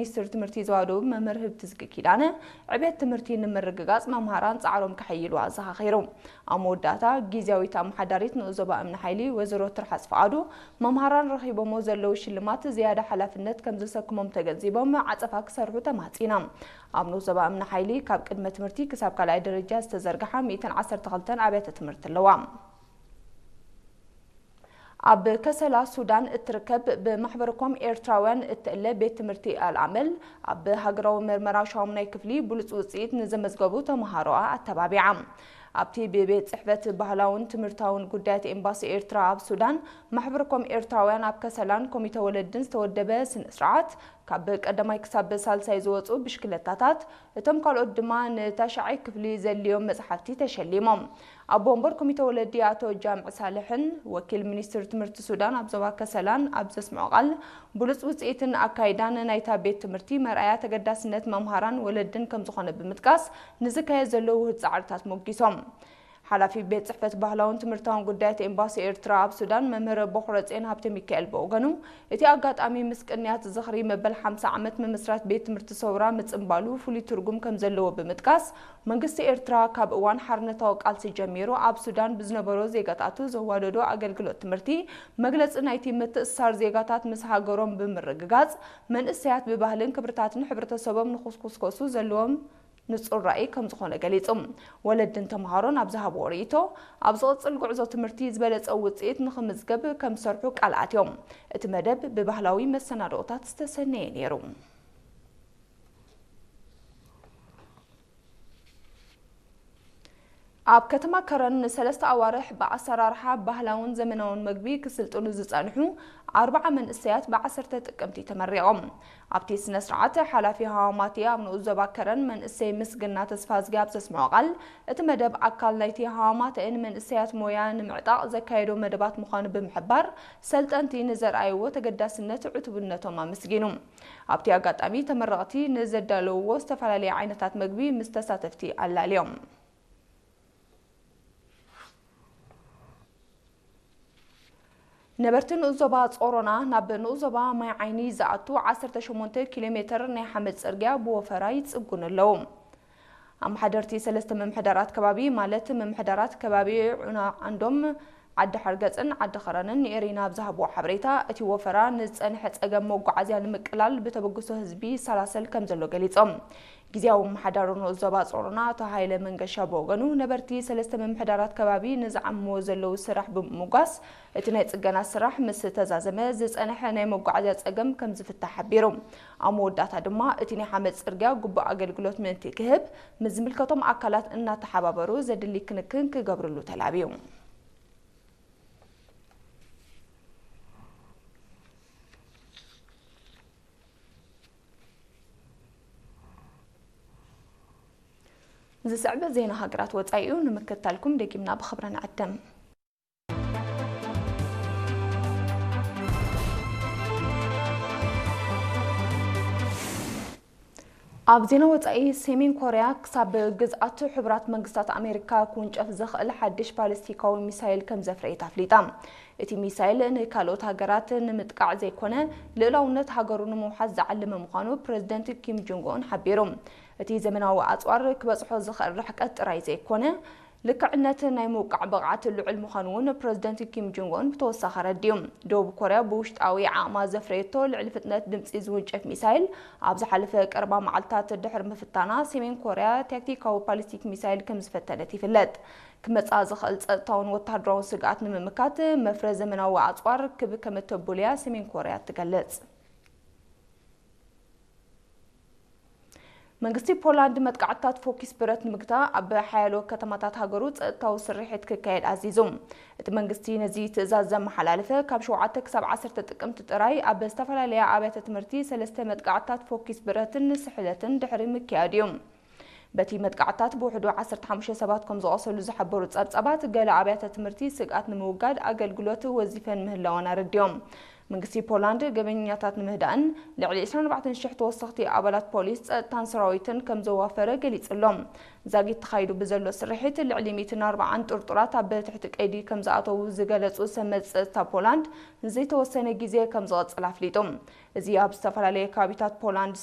ሚኒስትር ትምህርቲ ዞባ ደቡብ መምህር ህብትዝጊ ኪዳነ፣ ዕቤት ትምህርቲ ንምርግጋጽ መምሃራን ጻዕሮም ከሐይሉ ኣዘኻኺሩ። ኣብ መወዳእታ፣ ግዝያዊት ኣመሓዳሪት ንኡስ ዞባ እምኒ ሓይሊ ወይዘሮ ትርሓስ ፍቓዱ፣ መምሃራን ረኺቦሞ ዘለዉ ሽልማት ዝያዳ ሓላፍነት ከም ዘሰክሞም ተገንዚቦም፣ ዓጸፋ ክሰርሑ ተማጺና። ኣብ ንኡስ ዞባ እምኒ ሓይሊ፣ ካብ ቅድመ ትምህርቲ ክሳብ ካልኣይ ደረጃ ዝተዘርግሓ ሚእትን ዓሰርተ ክልተን ኣብያተ ትምህርቲ ኣለዋ። ኣብ ከሰላ ሱዳን እትርከብ ብማሕበርኮም ኤርትራውያን እትእለ ቤት ትምህርቲ ኣልኣመል፣ ኣብ ሃገራዊ መርመራ ሻሙናይ ክፍሊ ብሉጽ ውጽኢት ንዘመዝገቡ ተመሃሮኣ ኣተባቢዓ። ኣብቲ ብቤት ጽሕፈት ባህላውን ትምህርታውን ጉዳያት ኤምባሲ ኤርትራ ኣብ ሱዳን፣ ማሕበርኮም ኤርትራውያን ኣብ ከሰላን ኮሚተ ወለድን ዝተወደበ ስነ ስርዓት፣ ካብ ቀዳማይ ክሳብ ሳልሳይ ዝወጹ ብሽክለታታት፣ እቶም ካልኦት ድማ ንታሽዓይ ክፍሊ ዘድልዮም መጽሓፍቲ ተሸሊሞም። ኣቦ ወንበር ኮሚተ ወለዲ ኣቶ ጃምዕ ሳልሕን ወኪል ሚኒስትር ትምህርቲ ሱዳን ኣብ ዞባ ከሰላን ኣብ ዘስምዖ ቃል፣ ብሉጽ ውጽኢትን ኣካይዳን ናይታ ቤት ትምህርቲ መርኣያ ተገዳስነት መምሃራን ወለድን ከም ዝኾነ ብምጥቃስ፣ ንዝካየድ ዘሎ ውሁድ ጻዕርታት ሞጊሶም። ሓላፊ ቤት ጽሕፈት ባህላውን ትምህርታውን ጉዳያት ኤምባሲ ኤርትራ ኣብ ሱዳን መምህር ቦኽረጼን ሃብተ ሚካኤል ብወገኑ፣ እቲ ኣጋጣሚ ምስ ቅንያት ዝኽሪ መበል ሓምሳ ዓመት ምምስራት ቤት ትምህርቲ ሰውራ ምጽንባሉ ፍሉይ ትርጉም ከም ዘለዎ ብምጥቃስ፣ መንግስቲ ኤርትራ ካብ እዋን ሓርነታዊ ቃልሲ ጀሚሩ ኣብ ሱዳን ብዝነበሩ ዜጋታቱ ዘዋደዶ ኣገልግሎት ትምህርቲ መግለጺ ናይቲ ምትእስሳር ዜጋታት ምስ ሃገሮም ብምርግጋጽ፣ መንእሰያት ብባህልን ክብርታትን ሕብረተሰቦም ንኽስኩስኮሱ ዘለዎም ንጹር ራእይ ከም ዝኾነ ገሊጹ። ወለድን ተምሃሮን ኣብ ዝሃብዎ ርእይቶ፣ ኣብ ዝቕጽል ጉዕዞ ትምህርቲ ዝበለጸ ውጽኢት ንኽምዝገብ ከም ዝሰርሑ ቃል ኣትዮም። እቲ መደብ ብባህላዊ መሰናድኦታት ዝተሰነየ ነይሩ። ኣብ ከተማ ከረን ንሰለስተ ኣዋርሕ ብኣሰራርሓ ባህላውን ዘመናውን መግቢ ክስልጥኑ ዝጸንሑ ኣርባዓ መንእሰያት ብዓሰርተ ጥቅምቲ ተመሪቖም። ኣብቲ ስነ ስርዓት፣ ሓላፊ ሃዋማቲ ኣብ ንኡስ ዞባ ከረን መንእሰይ ምስግና ተስፋዝጊ ኣብ ዘስምዖ ቃል፣ እቲ መደብ ኣካል ናይቲ ሃዋማተኤን መንእሰያት ሞያ ንምዕጣቕ ዘካየዶ መደባት ምዃኑ ብምሕባር፣ ሰልጠንቲ ንዘርኣይዎ ተገዳስነት ዕቱብነቶም ኣመስጊኑ። ኣብቲ ኣጋጣሚ፣ ተመረቕቲ ንዘዳለውዎ ዝተፈላለየ ዓይነታት መግቢ ምስ ተሳተፍቲ ኣላልዮም። ነበርቲ ንኡስ ዞባ ጾሮና ናብ ንኡስ ዞባ ማይ ዓይኒ ዝኣቱ ዓሰርተ ሸሞንተ ኪሎ ሜተር ናይ ሓመድ ጽርግያ ብወፈራ ይጽጉኑ ኣለዉ። ኣመሓደርቲ ሰለስተ ምምሕዳራት ከባቢ፣ ማለት ምምሕዳራት ከባቢ ዑና ዓንዶም፣ ዓዲ ሓርገጽን ዓዲ ኸረንን ንኤሪና ኣብ ዝሃብዎ ሓበሬታ፣ እቲ ወፈራ ንዝጸንሐ ጸገም መጓዓዝያ ንምቅላል ብተበግሶ ህዝቢ ይሰላሰል ከም ዘሎ ገሊጾም። ግዝያዊ ኣመሓዳሪ ንኡስ ዞባ ጾሮና ኣቶ ሃይለ መንገሻ ብወገኑ፣ ነበርቲ ሰለስተ ምምሕዳራት ከባቢ ንዝዓምዎ ዘለዉ ስራሕ ብምምጓስ፣ እቲ ናይ ጽገና ስራሕ ምስ ተዛዘመ፣ ዝጸንሐ ናይ መጓዓዝያ ጸገም ከም ዝፍታሕ ሓቢሩ። ኣብ መወዳእታ ድማ፣ እቲ ናይ ሓመድ ጽርግያ ግቡእ ኣገልግሎት ምእንቲ ክህብ፣ ምስ ዝምልከቶም ኣካላት እናተሓባበሩ ዘድሊ ክንክን ክገብርሉ ተላብዩ። ዝስዕብ ዜና ሃገራት ወጻኢ እዩ፣ ንምክትታልኩም ደጊምና ብኽብሪ ንዕድም። ኣብ ዜና ወጻኢ፣ ሰሜን ኮርያ ክሳብ ግዝኣት ሕቡራት መንግስታት ኣሜሪካ ክውንጨፍ ዝኽእል ሓድሽ ባሊስቲካዊ ሚሳይል ከም ዘፍረየት ኣፍሊጣ። እቲ ሚሳይል ንካልኦት ሃገራት ንምጥቃዕ ዘይኮነ፣ ልኡላውነት ሃገሩ ንምውሓስ ዝዓለመ ምዃኑ ፕረዚደንት ኪም ጆንግ ኡን ሓቢሩ። እቲ ዘመናዊ ኣጽዋር ክበጽሖ ዝኽእል ርሕቀት ጥራይ ዘይኮነ፣ ልክዕነት ናይ ምውቃዕ ብቕዓት ልዑል ምዃኑ እውን ፕረዚደንት ኪም ጆንግ ኡን ብተወሳኺ ኣረዲኡ። ደቡብ ኮርያ ብውሽጣዊ ዓቕማ ዘፍረየቶ ልዕሊ ፍጥነት ድምጺ ዝውንጨፍ ሚሳይል፣ ኣብ ዝሓለፈ ቀረባ መዓልታት ድሕሪ ምፍታና፣ ሰሜን ኮርያ ታክቲካዊ ባሊስቲክ ሚሳይል ከም ዝፈተነት ይፍለጥ። ክመጽኣ ዝኽእል ጸጥታውን ወተሃደራውን ስግኣት ንምምካት፣ መፍረ ዘመናዊ ኣጽዋር ክብ ከም እተቡልያ ሰሜን ኮርያ ትገልጽ። መንግስቲ ፖላንድ መጥቃዕትታት ፎኪስ ብረት ንምግታእ ኣብ ሓያሎ ከተማታት ሃገሩ ጸጥታዊ ስርሒት ክካየድ ኣዚዙ። እቲ መንግስቲ ነዚ ትእዛዝ ዘመሓላለፈ፣ ካብ ሸውዓተ ክሳብ ዓሰርተ ጥቅምቲ ጥራይ ኣብ ዝተፈላለያ ኣብያተ ትምህርቲ ሰለስተ መጥቃዕትታት ፎኪስ ብረትን ስሕለትን ድሕሪ ምክያድ እዩ። በቲ መጥቃዕትታት ብውሕዱ ዓሰርተ ሓሙሽተ ሰባት ከም ዝቖሰሉ ዝሓበሩ ጸብጻባት፣ ገለ ኣብያተ ትምህርቲ ስግኣት ንምውጋድ ኣገልግሎት ወዚፈን ምህላወን ኣረዲኦም። መንግስቲ ፖላንድ ገበኛታት ንምህዳእን ልዕሊ ዕስራን ኣርባዕተን ሽሕ ተወሰኽቲ ኣባላት ፖሊስ፣ ጸጥታን ሰራዊትን ከም ዘዋፈረ ገሊጹ ኣሎ። ዛጊት ተኻይዱ ብዘሎ ስርሒት፣ ልዕሊ ሚእትን ኣርባዓን ጥርጡራት ኣብ ትሕቲ ቀይዲ ከም ዝኣተዉ ዝገለጹ ሰመዝ ጸጥታ ፖላንድ፣ ንዘይተወሰነ ግዜ ከም ዝቐጽል ኣፍሊጡ። እዚ ኣብ ዝተፈላለየ ከባቢታት ፖላንድ